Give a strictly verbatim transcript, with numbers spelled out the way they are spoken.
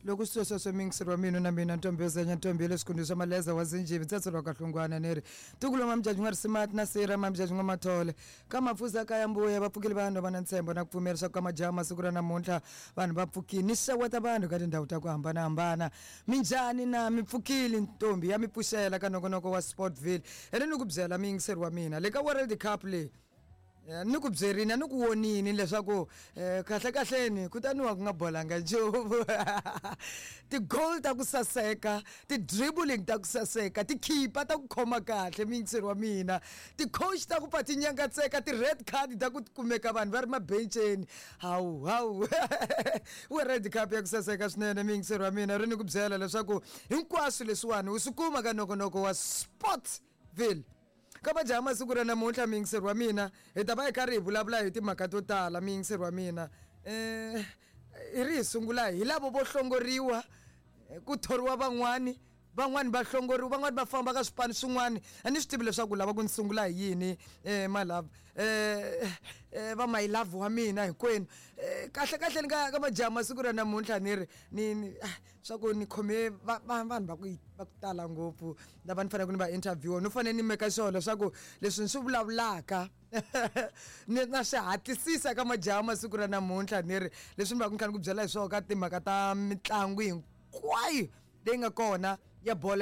Loko swi sweswo miyingiseri wa mina na mina ntombi yo zenya ntombi ya le swikhundleni swa maleza wa zinjivi ntsatso lwa kahlungwana ni ri ntukulu wa mamjaji n'wa risimati na sira mamjaji n'wa mathole ka mapfuza ka ya mbuya va pfukile vanhu va na ntshembo na ku pfumela swa ku ka majaha masiku ra namuntlha vanhu va pfukile ni xeweta vanhu ka tindhawu ta ku hambanahambana. Minjhani na mi pfukile ntombi ya mi pfuxela ka nongonoko wa Sportville ene ni ku byela miyingiseri wa mina le ka World Cup leyi. Eh, ni ku byerini a ni ku vonini leswaku um kahle kahleni kutani wa ku nga bolanga nchumu. Ti-goal ta ku saseka, ti-dribbling ta ku saseka, tikhipa ta ku khoma kahle miyingiseri wa mina, ti-coach ta ku pfa ti nyangatseka, ti-red card ta ku kumeka vanhu va ri mabenceni. Hawu hawu World Cup ya ku saseka swinene miyingiseri wa mina ri ni ku byela leswaku hinkwaswo leswiwani u swi kuma ka nongonoko wa Sportville. Ka majaha masiku ra namuntlha miyingiseri wa mina hi ta va hi karhi hi vulavula hi timhaka to tala miyingiseri wa mina. um hi ri hi sungula hi lavo vo hlongoriwa, ku thoriwa van'wani, van'wani va hlongoriwa, van'wani va famba ka swipano swin'wani. A ni swi tivi leswaku lava ku ni sungula hi yini um malava um va my love wa mina hinkwenu. um kahle kahle ni ka ka majaha masiku ra namuntlha ni ri ni ni swa ku ni khome va va vanhu va ku va ku tala ngopfu lava ni faneleke ni va interview no fanele ni make sure leswaku leswi ni swi vulavulaka ni na swi hatlisisa ka majaha masiku ra namuntlha ni ri leswi ni va ku ni kha ni ku byela hi swona ka timhaka ta mitlangu hinkwayo leyi nga kona ya bolo.